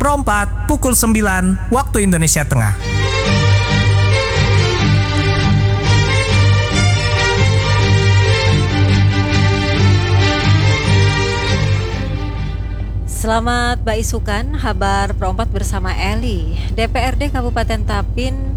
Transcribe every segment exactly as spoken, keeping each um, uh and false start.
Pro empat, pukul sembilan, Waktu Indonesia Tengah. Selamat baisukan, habar Pro empat bersama Eli. D P R D Kabupaten Tapin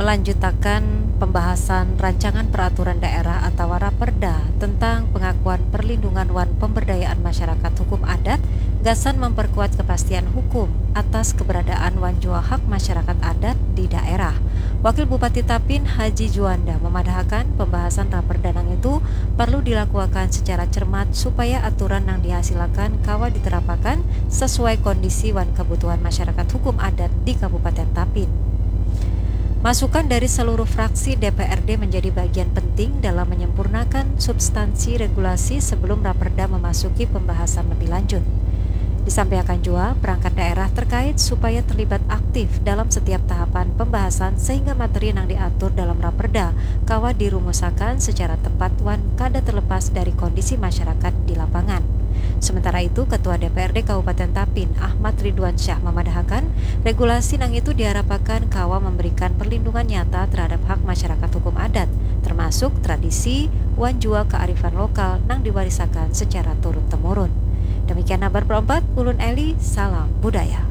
melanjutakan pembahasan rancangan peraturan daerah atau Raperda tentang pengakuan perlindungan wan pemberdayaan masyarakat hukum adat gasan memperkuat kepastian hukum atas keberadaan wan jua hak masyarakat adat di daerah. Wakil Bupati Tapin, Haji Juanda, memadahakan pembahasan Raperda nang itu perlu dilakuakan secara cermat supaya aturan nang dihasilakan kawa diterapakan sesuai kondisi wan kebutuhan masyarakat hukum adat di Kabupaten Tapin. Masukan dari seluruh fraksi D P R D menjadi bagian penting dalam menyempurnakan substansi regulasi sebelum Raperda memasuki pembahasan lebih lanjut. Disampaikan jua, perangkat daerah terkait supaya terlibat aktif dalam setiap tahapan pembahasan sehingga materi nang diatur dalam Raperda kawa dirumusakan secara tepat wan kada terlepas dari kondisi masyarakat di lapangan. Sementara itu, Ketua D P R D Kabupaten Tapin, Ahmad Ridwan Syah, memadahakan regulasi nang itu diharapakan kawa memberikan perlindungan nyata terhadap hak masyarakat hukum adat, termasuk tradisi wan jua kearifan lokal nang diwarisakan secara turun-temurun. Demikian habar Pro empat, ulun Eli, salam budaya.